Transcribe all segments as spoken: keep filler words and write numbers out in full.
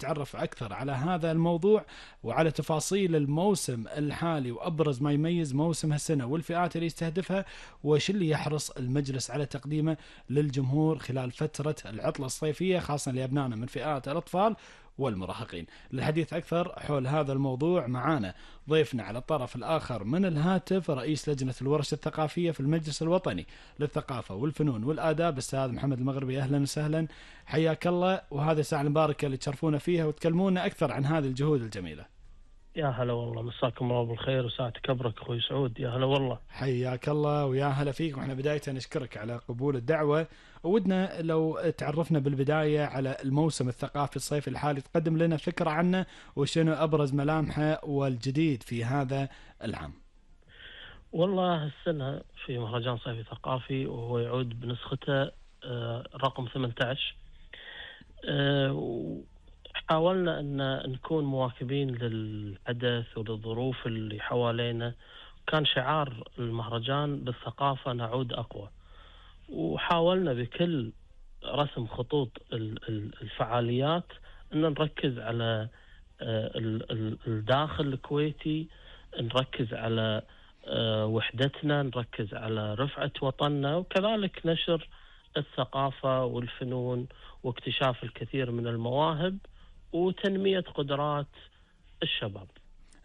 نتعرف أكثر على هذا الموضوع وعلى تفاصيل الموسم الحالي وأبرز ما يميز موسم هالسنة والفئات اللي يستهدفها، وش اللي يحرص المجلس على تقديمه للجمهور خلال فترة العطلة الصيفية خاصة لأبنائنا من فئات الأطفال والمراهقين. للحديث أكثر حول هذا الموضوع معانا ضيفنا على الطرف الآخر من الهاتف رئيس لجنة الورش الثقافية في المجلس الوطني للثقافة والفنون والآداب الأستاذ محمد المغربي. أهلا وسهلا، حياك الله، وهذه الساعة المباركة اللي تشرفونا فيها وتكلمونا أكثر عن هذه الجهود الجميلة. يا هلا والله، مساكم الله بالخير وساعتك كبرك أخوي سعود. يا هلا والله، حياك الله ويا هلا فيك. وإحنا بداية نشكرك على قبول الدعوة، ودنا لو تعرفنا بالبداية على الموسم الثقافي الصيفي الحالي، تقدم لنا فكرة عنه وشنو أبرز ملامحه والجديد في هذا العام. والله السنة في مهرجان صيفي ثقافي وهو يعود بنسخته رقم ثمانية عشر. حاولنا أن نكون مواكبين للحدث وللظروف اللي حوالينا. كان شعار المهرجان بالثقافة نعود أقوى، وحاولنا بكل رسم خطوط الفعاليات أن نركز على الداخل الكويتي، نركز على وحدتنا، نركز على رفعة وطننا، وكذلك نشر الثقافة والفنون واكتشاف الكثير من المواهب وتنمية قدرات الشباب.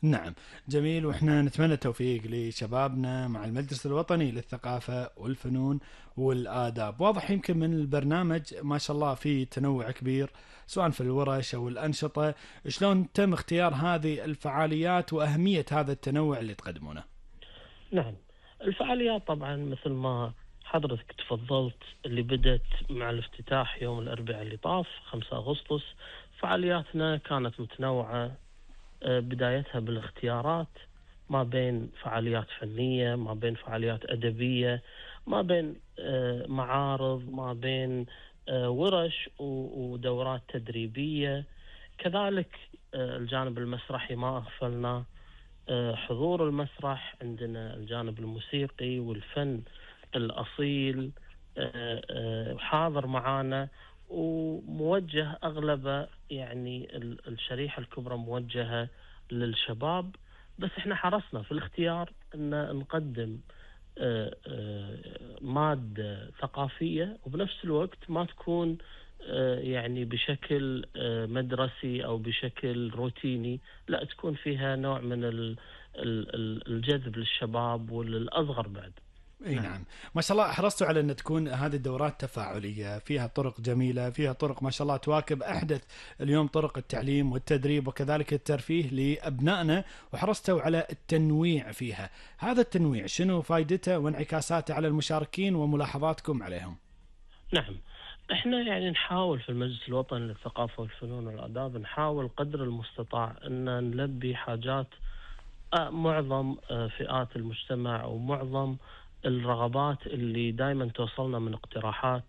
نعم جميل، وإحنا نتمنى التوفيق لشبابنا مع المجلس الوطني للثقافة والفنون والآداب. واضح يمكن من البرنامج ما شاء الله في تنوع كبير سواء في الورش أو الأنشطة. شلون تم اختيار هذه الفعاليات وأهمية هذا التنوع اللي تقدمونه؟ نعم، الفعاليات طبعا مثل ما حضرتك تفضلت اللي بدت مع الافتتاح يوم الأربعاء اللي طاف خمسة أغسطس. فعالياتنا كانت متنوعة، بدايتها بالاختيارات ما بين فعاليات فنية، ما بين فعاليات أدبية، ما بين معارض، ما بين ورش ودورات تدريبية. كذلك الجانب المسرحي ما أغفلنا، حضور المسرح، عندنا الجانب الموسيقي والفن الأصيل حاضر معانا، وموجه أغلبه يعني الشريحة الكبرى موجهة للشباب. بس احنا حرصنا في الاختيار أن نقدم مادة ثقافية وبنفس الوقت ما تكون يعني بشكل مدرسي أو بشكل روتيني، لا تكون فيها نوع من الجذب للشباب وللأصغر بعد. اي نعم، ما شاء الله حرصتوا على ان تكون هذه الدورات تفاعليه، فيها طرق جميله، فيها طرق ما شاء الله تواكب احدث اليوم طرق التعليم والتدريب وكذلك الترفيه لابنائنا، وحرصتوا على التنويع فيها. هذا التنويع شنو فائدته وانعكاساته على المشاركين وملاحظاتكم عليهم؟ نعم، احنا يعني نحاول في المجلس الوطني للثقافه والفنون والآداب نحاول قدر المستطاع ان نلبي حاجات معظم فئات المجتمع ومعظم الرغبات اللي دائما توصلنا من اقتراحات.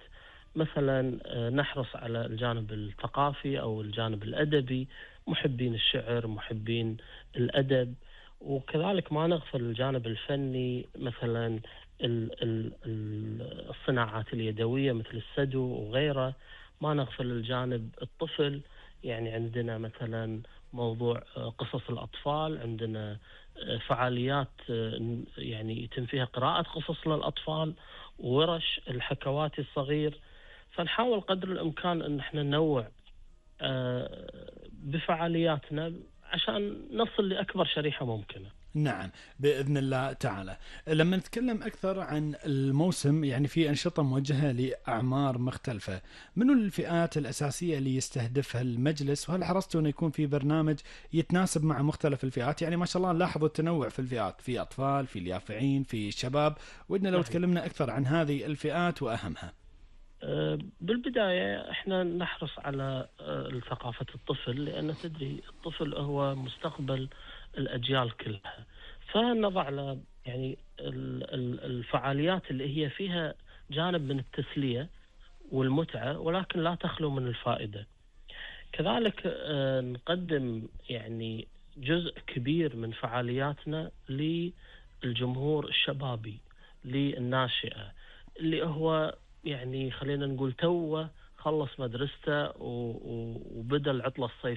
مثلا نحرص على الجانب الثقافي أو الجانب الأدبي، محبين الشعر، محبين الأدب، وكذلك ما نغفل الجانب الفني، مثلا الصناعات اليدوية مثل السدو وغيره. ما نغفل الجانب الطفل، يعني عندنا مثلا موضوع قصص الأطفال، عندنا فعاليات يعني يتم فيها قراءة قصص للأطفال وورش الحكواتي الصغير. فنحاول قدر الإمكان أن احنا ننوع بفعالياتنا عشان نصل لأكبر شريحة ممكنة. نعم بإذن الله تعالى. لما نتكلم أكثر عن الموسم، يعني في أنشطة موجهة لأعمار مختلفة، منو الفئات الأساسية اللي يستهدفها المجلس؟ وهل حرصتوا أن يكون في برنامج يتناسب مع مختلف الفئات؟ يعني ما شاء الله نلاحظوا التنوع في الفئات، في أطفال، في اليافعين، في شباب. ودنا لو تكلمنا أكثر عن هذه الفئات وأهمها. بالبداية احنا نحرص على ثقافة الطفل، لأن تدري الطفل هو مستقبل الأجيال كلها. فنضع له يعني الفعاليات اللي هي فيها جانب من التسلية والمتعة ولكن لا تخلو من الفائدة. كذلك نقدم يعني جزء كبير من فعالياتنا للجمهور الشبابي، للناشئة اللي هو يعني خلينا نقول توه خلص مدرسته وبدأ العطلة الصيفية